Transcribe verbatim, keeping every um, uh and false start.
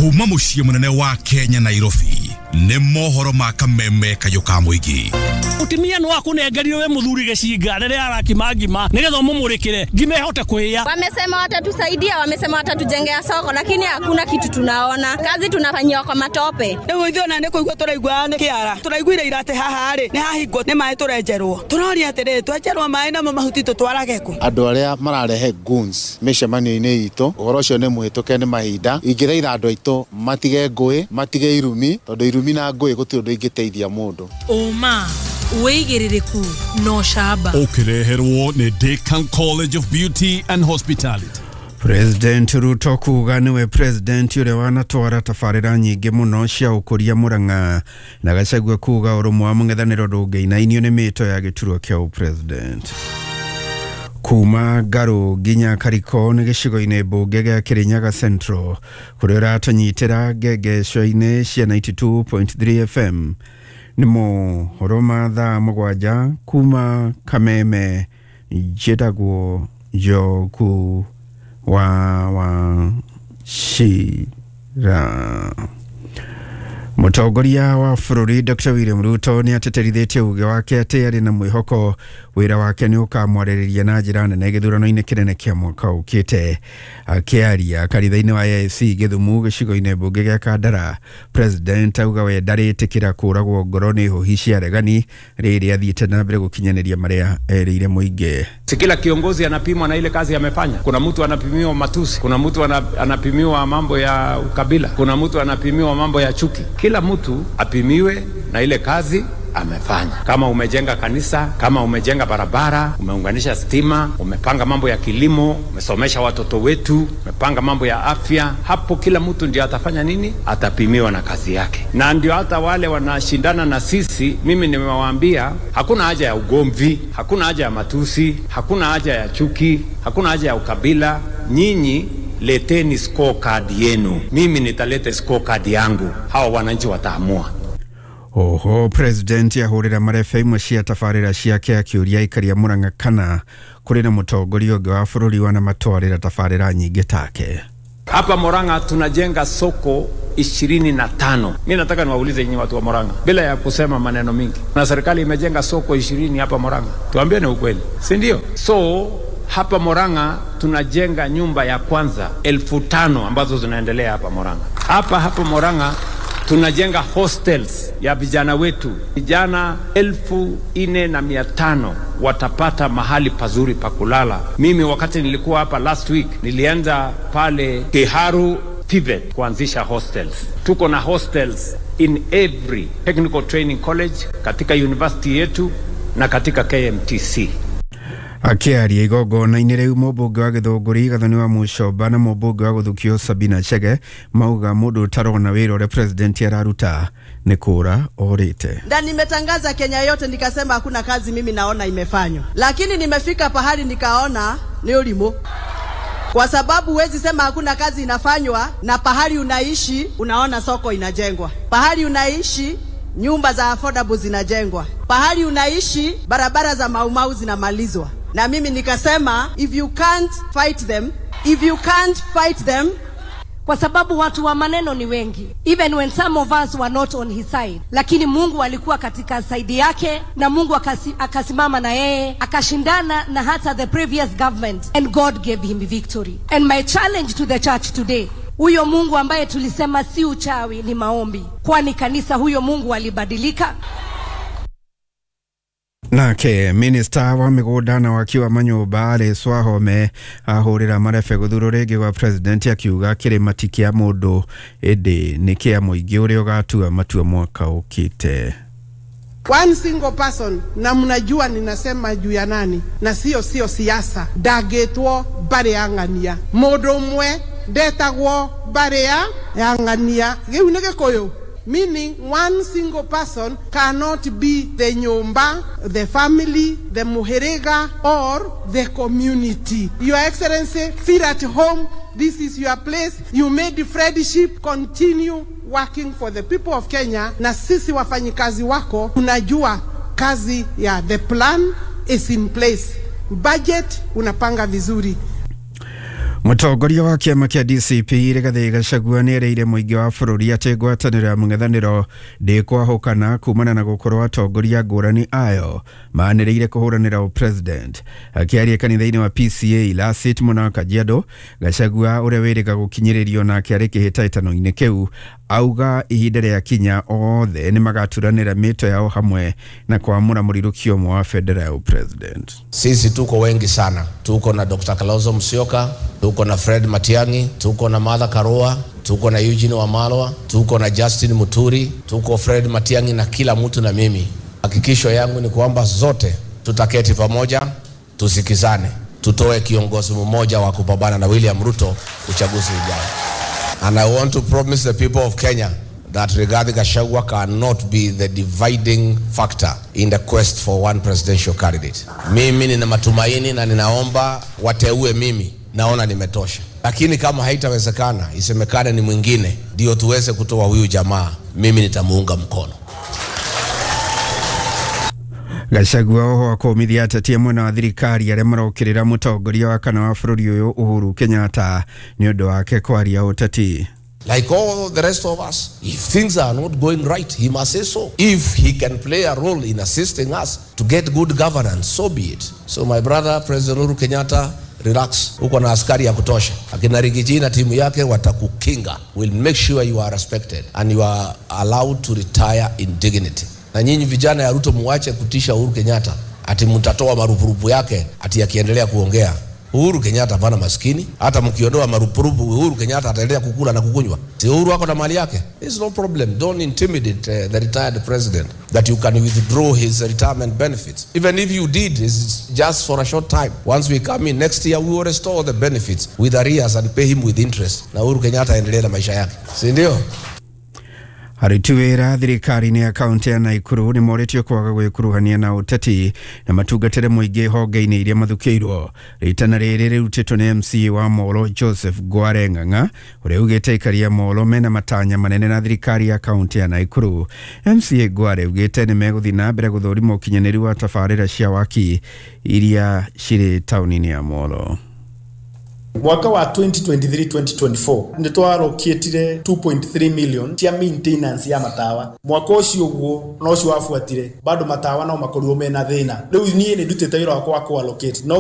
Kuma muciĩ munene wa Kenya Nairobi nĩ mohoro ma kameme kayũ ka mũingĩ. Mutumia no akunengerire we muthuri gicinga riria arakima ngima nigetha umumurikire ngima ihote kuhia. Wamesema watatusaidia, wamesema watatujengea soko, lakini hakuna kitu tunaona. Kazi tunafanyiwa kwa matope. Riu ithuĩ ona nĩ kũigua tũraigua nĩ kĩara. Tũraiguire ira atĩ haha rĩ nĩ hahingwo nĩ maĩ tũrenjerwo. Tũroria atĩrĩrĩ, twenjerwo maĩ namo mahuti tũtwarage kũ? Andũ arĩa mararehe goons mĩcemanio-inĩ itũ, ũhoro ũcio nĩ mũhĩtũke nĩ mahinda. Ingĩthaitha andũ aitũ matige ngũĩ, matige irumi, tondũ irumi na ngũĩ gũtirĩ ũndũ ingĩteithia mũndũ. Ũma wĩigĩrĩrĩku no camba. Ũkĩreherwo nĩ Decan College of Beauty and Hospitality. President Ruto kuga niwe president ũrĩa wanatwara tabarĩra nyingĩ mũno cia ũkũria Murang'a, na Gachagua kuga ũrũmwe wa mũng'ethanĩro ndũngĩinainio nĩ mĩto ya gĩturwa kĩa ũpresident. Kuma Ngaru nginya Kariko nĩ gĩcigo-inĩ mbunge gĩa Kirinyaga Central kũrĩa ũratũnyitĩra ngengeco-inĩ cia ninety two point three F M. Nĩ mohoro ma thaa mũgwanja kuma Kameme. Njĩtagwo Njoku wa Wachira. Mũtongoria wa bũrũri Doctor William Ruto nĩ atĩtĩrithĩtie uge wake atĩ arĩ na mwĩhoko wĩra wake nĩ ũkamwarĩrĩria na njĩra nene gĩthurano-inĩ kĩnene kĩa mwaka ũkĩte. Akĩaria kanitha-inĩ wa A I C Gĩthumu gĩcigo-inĩ mbunge gĩa Kandara, President auga we ndarĩtĩkĩra kũragwo ngoro nĩ hũhi cia regani rĩrĩa athiĩte na mbere gũkinyanĩria marĩa erĩire mũingĩ. Si kila kiongozi anapimwa na ile kazi amefanya. Kuna mtu anapimiwa matusi, kuna mtu anapimiwa mambo ya ukabila, kuna mtu anapimiwa mambo ya chuki. Kila mtu apimiwe na ile kazi amefanya. Kama umejenga kanisa, kama umejenga barabara, umeunganisha stima, umepanga mambo ya kilimo, umesomesha watoto wetu, umepanga mambo ya afya, hapo kila mtu ndio atafanya nini? Atapimiwa na kazi yake. Na ndio hata wale wanashindana na sisi, mimi nimewaambia hakuna haja ya ugomvi, hakuna haja ya matusi, hakuna haja ya chuki, hakuna haja ya ukabila. Nyinyi leteni scorecard yenu, mimi nitaleta scorecard yangu, hawa wananchi wataamua. Oho, President ahũrĩra marebe imwe cia tabarĩra ciake akĩũria aikari a Murang'a kana kũrĩ na mũtongoria ũngĩ wa bũrũri wanamatwarĩra tabarĩra nyingĩ take. Hapa Murang'a tunajenga soko ishirini na tano. Mimi nataka niwaulize nyinyi watu wa Murang'a bila ya kusema maneno mingi. Na serikali imejenga soko ishirini hapa Murang'a. Tuambiane ukweli, si ndio? So hapa Murang'a tunajenga nyumba ya kwanza elfu tano ambazo zinaendelea hapa Murang'a. Hapa hapa Murang'a tunajenga hostels ya vijana wetu. Vijana elfu nne na mia tano watapata mahali pazuri pa kulala. Mimi wakati nilikuwa hapa last week nilienda pale Kiharu Tibet kuanzisha hostels. Tuko na hostels in every technical training college katika university yetu na katika K M T C. Akĩaria igongona-inĩ rĩu mũmbunge wa Gĩthũngũri Gathoni wa Mũcomba na mũmbunge wa Gũthukio Sabina Chege mauga mũndũ ũtarona wĩra ũrĩa president araruta nĩ kũra orĩte. Na nimetangaza Kenya yote nikasema hakuna kazi mimi naona imefanywa, lakini nimefika pahali nikaona ni ulimo. Kwa sababu huwezi sema hakuna kazi inafanywa na pahali unaishi unaona soko inajengwa, pahali unaishi nyumba za affordable zinajengwa, pahali unaishi barabara za Maumau zinamalizwa. Na mimi nikasema if you can't fight them, if you can't fight them, kwa sababu watu wa maneno ni wengi. Even when some of us were not on his side, lakini Mungu alikuwa katika side yake, na Mungu akasi, akasimama na yeye, akashindana na hata the previous government, and God gave him victory. And my challenge to the church today, huyo Mungu ambaye tulisema si uchawi ni maombi, kwani kanisa huyo Mungu alibadilika? Nake minister wa mĩgũnda na waki wa manyũmba Alice Wahome ahũrĩra marebe gũthurwo rĩngĩ gwa president akiuga kĩrĩma ti kĩa mũndũ ĩndĩ nĩ kĩa mũingĩ ũrĩa ũgatua matua mwaka ũkĩte. One single person, na mnajua ninasema juu ya nani, na sio sio siasa, ndagetwo mbari ya ng'ania. Mũndũ ũmwe ndetagwo mbari ya ng'ania. Gĩu nĩ Gĩkũyũ. Meaning one single person cannot be the nyumba, the family, the muherega, or the community. Your Excellency, feel at home. This is your place. You made friendship. Continue working for the people of Kenya. Na sisi wafanyikazi wako, unajua kazi ya the plan is in place. Budget unapanga vizuri. Mũtongoria wa kĩama kĩa D C P Rigathĩ Gachagua nĩerĩire mũingĩ wa bũrũri atĩ ngwatanĩro ya mũng'ethanĩro ndĩkwahũkana kumana na gũkorwo atongoria ngũrani ayo manĩrĩire kũhũranĩra ũpresident. Akĩaria kanitha-inĩ wa P C A Lasit mwena wa Kajiado, Gachagua ũrĩa wĩrĩga gũkinyĩrĩrio nake arĩ kĩhĩtahĩtano-inĩ kĩu auga ihinda rĩa kinya othe nĩmagaturanĩra mĩto yao hamwe na kuamũra mũrirũkio ũmwe wa bendera ya ũpresident. Sisi tuko wengi sana, tuko na Doctor Kalonzo Musyoka, tuko na Fred Matiang'i, tuko na Martha Karua, tuko na Eugene Wamalwa, tuko na Justin Muturi, tuko Fred Matiang'i na kila mtu na mimi. Hakikisho yangu ni kwamba zote tutaketi pamoja, tusikizane, tutoe kiongozi mmoja wa kupambana na William Ruto uchaguzi ujao. And I want to promise the people of Kenya that Rigathi Gachagua cannot be the dividing factor in the quest for one presidential candidate. Mimi nina matumaini na ninaomba wateue mimi, naona nimetosha. Lakini kama haitawezekana, isemekane ni mwingine, ndio tuweze kutoa huyu jamaa, mimi nitamuunga mkono. Gachagua oho akomithia ateti mwena wa thirikari arĩa marokĩrĩra mũtongoria wa kana wa bũrũri ũyũ Uhuru Kenyatta nĩ ũndũ wake kwaria ũteti. Like all the rest of us, if things are not going right, he must say so. If he can play a role in assisting us to get good governance, so be it. So my brother, President Uhuru Kenyatta, relax. Uko na askari ya kutosha. Akina Rigiji na timu yake watakukinga. We'll make sure you are respected and you are allowed to retire in dignity. Na nyinyi vijana ya Ruto muache kutisha Uhuru Kenyatta ati mtatoa marupurupu yake ati akiendelea kuongea. Uhuru Kenyatta hapana maskini. Hata mkiondoa marupurupu Uhuru Kenyatta ataendelea kukula na kukunywa. Si Uhuru ako na mali yake. There's no problem. Don't intimidate uh, the retired president that you can withdraw his retirement benefits. Even if you did, it's just for a short time. Once we come in next year, we will restore the benefits with arrears and pay him with interest. Na Uhuru Kenyatta aendelee na maisha yake. Si ndio? Aruti wĩra thirikari-inĩ ya kaunti ya Naikuru nĩ morĩtio kwaga gwĩkuruhania na ũteti na matungatĩre mũingĩ honge-inĩ iria mathukĩirwo. Rĩtana rĩrĩ rĩrutĩtwo nĩ M C A wa Molo Joseph Ngware Ng'ang'a ũrĩa ugĩte aikari a Molo mena matanya manene na thirikari ya kaunti ya Naikuru. M C A Ngware ugĩte nĩ megũthiĩ na mbere gũthũrima ũkinyanĩru wa tabarĩra cia waki iria cirĩ taũni-inĩ ya Molo. Mwaka wa twenty twenty-three twenty twenty-four nĩ twarokĩtire two point three million cia maintenance ya matawa. Mwaka ũcio ũguo na ũcio wabuatire bado matawa no makorirwo mena thĩna. Rĩu niĩ nĩ ndutĩte wĩra wakwa wa kũ allocate no